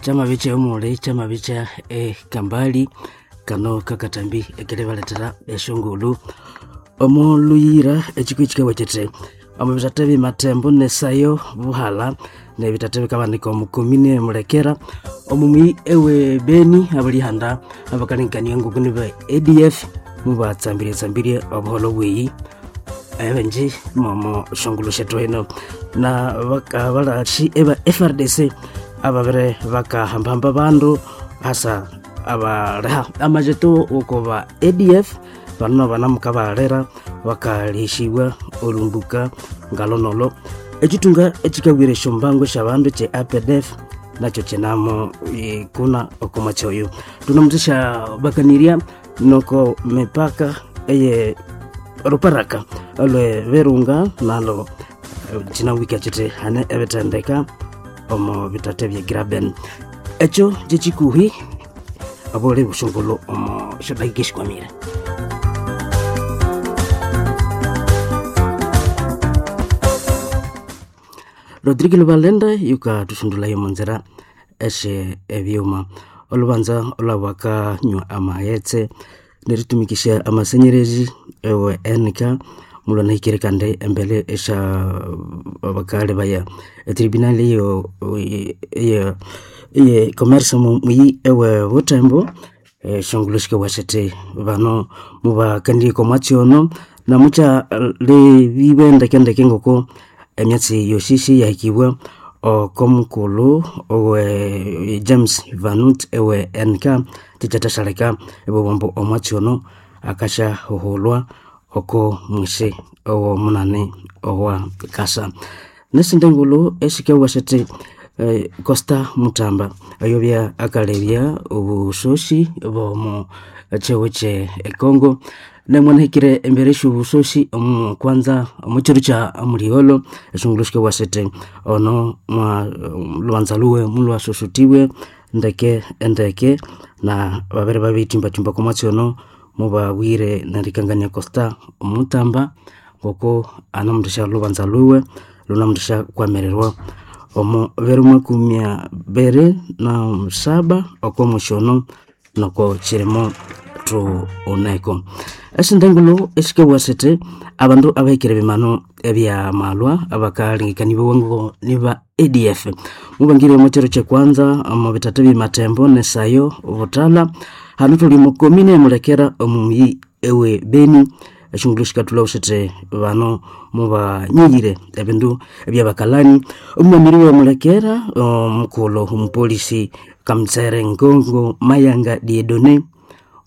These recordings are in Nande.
Chama bicha omuli chama bicha ekambali kano kakatambi ekeribaletera eshongolo omuluyira ekiko ekikawa kiti omu bitate bimatembo nesayo buhala nebitate bikabanika omukomine mulekera omumwi ewe Beni abalihanda abakalengekania nguku niba ADF mubatsambirie tsambirie obuholo bweyi ebenji momo shongolo shetu eno na bakabalashi eba FRDC ababere bakahambahamba bandu hasa abaleha amajeto ukoba ADF bano banamukabalera bakalihishibwa olumbuka ngalonolo ekitunga ekikawire esyombango syabandu kye APDF nakyo kinamo kuna okomwatsi oyo tunamuthesya bakanirya noko mipaka eye ruparaka olwe Virunga nalo kinawika kiti hane ebitendeka omo bitate bye Graben ekyo kyekikuhi abole bushongolo omo syodakika esikwamire. Rodrigo Lubalenda yuka tusundulayo munzira eshe ebyuma olubanza olwabakanywa amaghetse neritumikisha amasenyerezi ewe NK mulwanahikire kandi embere esha abakali baya etribunal eyo eye eye commerce muyi ewe Butembo eshongolo shikawashete bano mubakandie komwatsi ono namucha lebibe ndekendeke ngoko emyatsi yoshishi yahikibwa okomukulhu owe James Vanut ewe NK kikyathashaleka ebobombo omwatsi ono akasyahuhulwa oko mwisi owomunani owa kasa. Nesindi ngulhu esikawasete Costa Mutamba oyobya akalebya obusosi bwomu kyiwu kye Congo nemwanahikire embere esyobusosi omu kwanza omukyiro kya muligholo eshongolo sikawasete ono mwa lhubanza lhuwe mulhwasosotibwe ndeke endeke na babere babirithimbathimba okomwatsi ono mubabwire nerikangania Costa Mutamba ngoko anamuthesya lhubanza lhuwe lhunamuthesya kwamirirwa omu biro makumi abiri na saba okomwisi ono noko kirimo thuneko. Esindi ngulhu esikabugha sithi abandu abahikire ebimanu ebyamalwa abakalengekanibawa ngo niba ADF mubangire omu kyiro kyekwanza omu bitata byematembo nesayo buthalha hanu thuli omu komine emulekera omu muyi ewe Beni eshongolo sikathulhawo sithi bano mubanyiyire ebindu ebyabakalani omwamiri wemulekera omukulhu omupolisi Kamutsere Ngongo Mayanga Diedone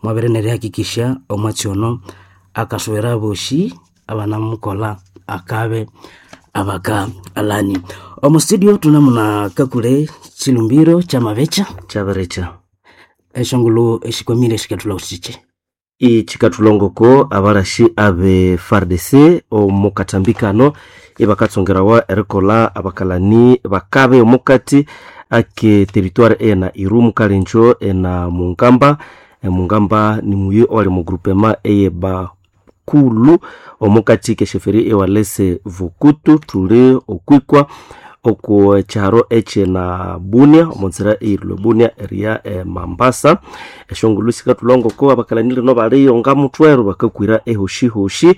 mwabere nerihakikisya omwatsi ono akasowera abosi abanamukolha akabe abakalani. Omu studio thunamuna Kakule Chilumbiro kyamabecha Kyabirekya eshongolo eshikwamire esikathulhawo sithi Ikikathulhangoko abalashi abe FARDC omu kano ibakatsongerawa erikolha abakalani bakabe omukati ake territoire ena Irumu Kalenjo ena Mungamba. Mungamba ni muyi owali mu groupement eye Bakulu omukati kesheferi ewalese Vukutu thuli okwikwa oku kyaro ekyina Bunia omunzira eyirilwe Bunia eriya Mambasa. Eshongolo sikathulhangoko abakalani lino baliyo ngamuthweru bakakwira ehoshihoshi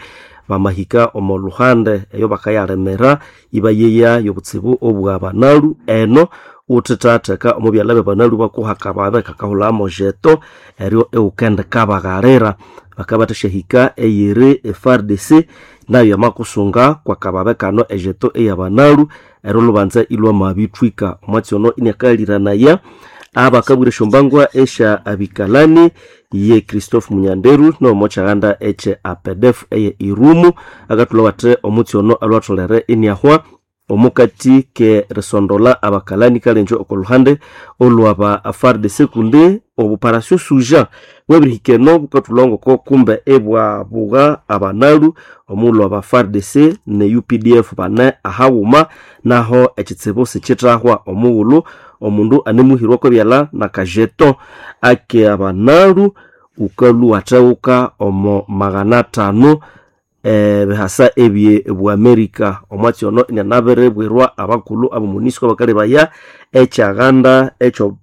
bamahika omo luhande eyo bakayalemera ibayeya yobutsibu obwa banalu eno uthithatheka omo byalha byabanalu bakuhaka babe kakahulha mojeto eryo ewukende kabaghalira bakabathasyahika eyiri FARDC nayo yamakusunga kwakababe kano ejeto eyabanalu eryo lhubanza ilwamabithwika omwatsi ono iniakaliranaya abakabwira esyombangwa esya abikalani ye Christophe Munyanderu nomo kyaghanda ekye APDF eye Irumu akathulha wathi omutsi ono alhwatholere iniahwa omukati ke risondola abakalani kalenjo oko luhande olwaba FARDC kundi obuparasyo suja bwabirihika eno bukathulha ngoko kumbe ibwabugha abanalu omughulhu aba FARDC ne UPDF bane ahaghuma naho ekitsibu sikithahwa omughulhu omundu anemuhirwako ebyalha nakajeto ake abanalu wukalhwa watheghuka omo 500 bihasa ebye bw'Amerika. Omwatsi ono inianabiribwirwa abakulhu abo MONUSCO abakalebaya ekyaganda ekyo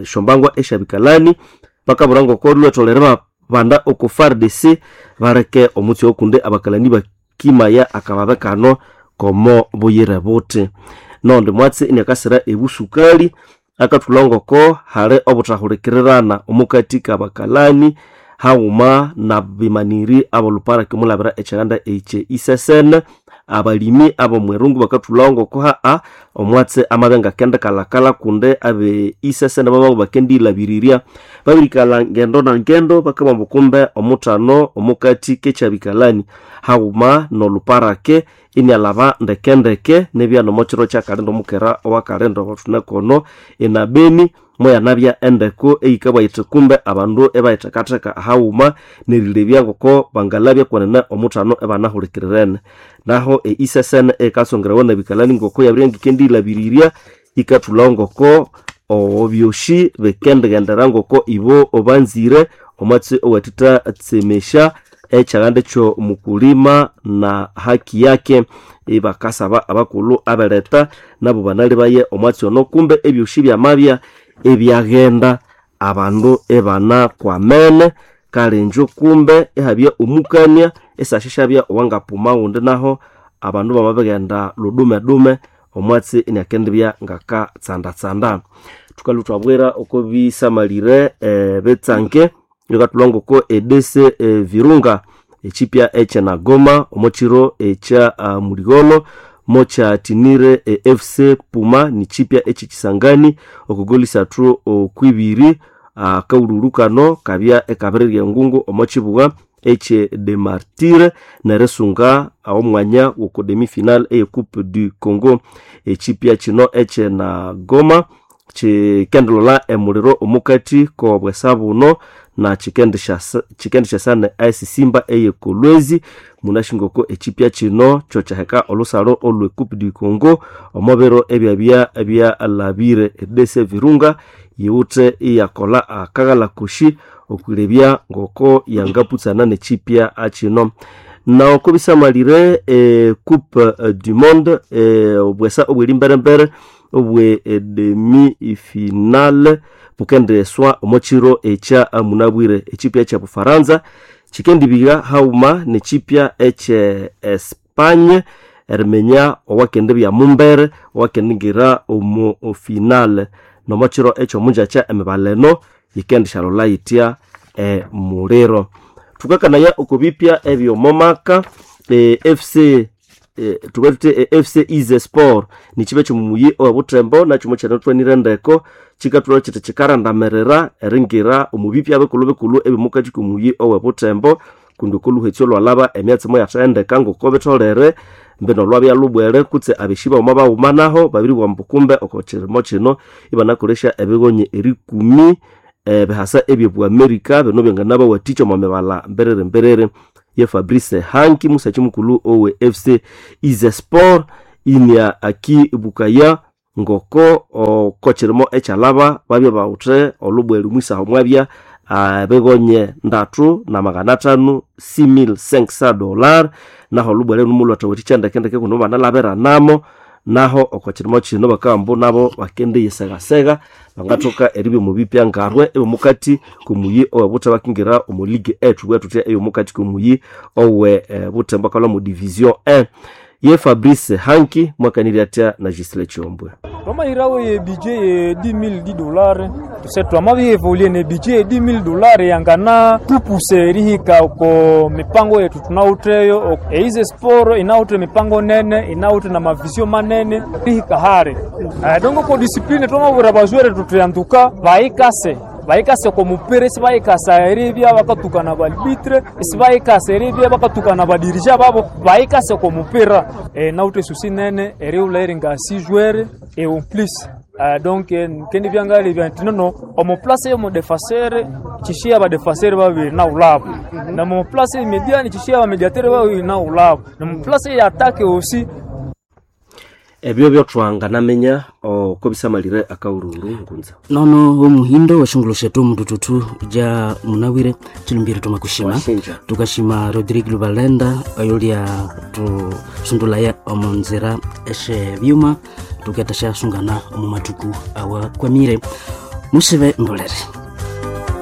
esyombangwa esyabikalani bakabwira ngoko lhwetholere babanda oko FARDC baleke omutsi oyo kundi abakalani bakimaya akababe kano komo buyire buthi. Nondi mwatsi iniakasira ebusukali akathulha ngoko hali obuthahulikirirana omukati kabakalani haghuma nabimaniri abolhuparaki omulabira ekyiganda ekye isesene. Abalimi abomwirungu bakathulhawo ngoko haa omwatsi amabya ngakendikalhakalha kundi abe isesene bamabya bakendiyilhabirirya babirikalha ngendo na ngendo bakabugha ambu kumbe omuthano omukati kekyabikalani haghuma nolhuparake inialhaba ndekendeke nibya nomokyiro kyakalinda omukera owakalinda owathunekono enabeni moyanabya endeko eyikabugha yithi kumbe abandu ibayithekatheka haghuma nerilebya ngoko bangalabya kwenene omuthano ibanahulikirirene. Naho eisesene eyikatsongerawa nabikalani ngoko yabiribya ngikendiyilhabirirya yikathulhawo ngoko ebyosi bikendighendera ngoko ibo banzire omwatsi owathithatsemesya ekyaganda ekyomukulima na haki yake. Ibakasaba abakulhu abeletha nabo banalhebaye omwatsi ono kumbe ebyosi byamabya ebyaghenda abandu ibanakwamene kale injo kumbe ihabya omukania isasyasyabya owangapuma ghundi naho abandu bamabighenda ludume-dume omwatsi iniakendibya ngakatsandatsanda. Thukalhwa ithwabwira oko bisamalire ebitsange bikathulha ngoko EDC Virunga ekyipya ekyenagoma omokyiro ekya muligholo mokyathinire FC Puma nikyipya ekyekisangani okugoli isathu okwibiri. Akawulhulhu kano kabya ikabirirya engungu omo kyibugha ekye de Martyrs nerisunga omwanya woko demi final eye Coupe du Congo. Ekyipya kino ekyenagoma kyikendilolha emuliro omukati kobwesa buno na kyikendisyasa AS Simba eye Kolwezi. Munasi ngoko ekyipya kino kyokyaheka olhusalho olwe Coupe du Congo omo biro ebyabya byalhabire. EDC Virunga yiwithe iyakolha akaghalha kosi okwilebya ngoko yangaputsana nekyipya kino. Noko bisamalire Coupe du Monde obwesa obwerimberembere obwe demi final bukendeswa omo kyiro ekya munabwire. Ekyipya ekya Bufaransa kyikendibigha haghuma nekyipya ekye Espagne eriminya owakendibya mumbere owakendingira omo final. Nomo kyiro ekyomungyakya emibala eno yikendisyalholha yithya emuliro. Thukakanaya oko bipya ebyomomaka FC thukathuthi FC Ize Sport nikyipya kyomumuyi owebuthembo nakyo mukyanatwanire endeko kyikathulha kyithi kyikarandamirira eringira omu bipya bikulhu-bikulhu ebyomukati komuyi owebuthembo kundi okoluhetsyo lwalhaba emyatsi moyathendeka ngoko bitholere mbino lwabya lubwere kutse abeshi baghuma baghuma naho babiribugha ambu kumbe oko kirimo kino ibanakolesya ebigonyi erikumi ebihasa ebye Amerika bino byanganabawathikya omo mibala mberere-mberere. Ye Fabrice Hanki musakyi mukulhu owe FC Ize Sport inia akibukaya ngoko oko kirimo ekyalhaba babya bawithe olhubwere omwisaha mwabya ebigonye ndatu na magana athanu $6500 naho olhubwere numulhwathawathikya ndekendeke kundi mubanalhabiranamo. Naho oko kirimo kino bakabugha ambu nabo bakendiyisegasega bangathoka eribya omo bipya ngarwe ebyomukati komuyi owe Buthembo bakingira omo ligue E thubughe thuthi eyomukati komuyi owe Buthembo akalhwa mu division 1. Ye Fabrice Hanki mwakanirya athya na Gisele Kyombwe. Twamahirawo ye budget ye 10000 dollars tuse twamabyevoluer ne budget ye 10000 dollars yangana tupuse erihika oko mipango yetu tunawutheyo. Eize sport inawuthe mipango nene inawuthe na mavision manene rihika hare dongo ko discipline twamabwira bazwere tutyanduka bayikase bayikase ko mupira isibayikasa eribya bakatukana ba arbitre isibayikasa eribya bakatukana badirija babo bayikase ko mupira nawuthe susi nene eriwula eringa six joueurs et en plus donc kendi byangalebya nti nono omu place yomu défenseur kishiya badefenseur babiri naulabo na mu place mediani kishiya bamediateur babiri naulabo na mu place ya attaque aussi. Ebyo byotwanganamenya oko bisamalire akaururu ngunza. Nono omuhindo weshongolo shetu mutututu ja munawire chilumbiro tumakushima. Washinja. Tukashima Rodrigue Lubalenda oyolya tusundulaya omunzira eshe byuma tuketasha sungana omu matuku awa kwamire musibe mbolere.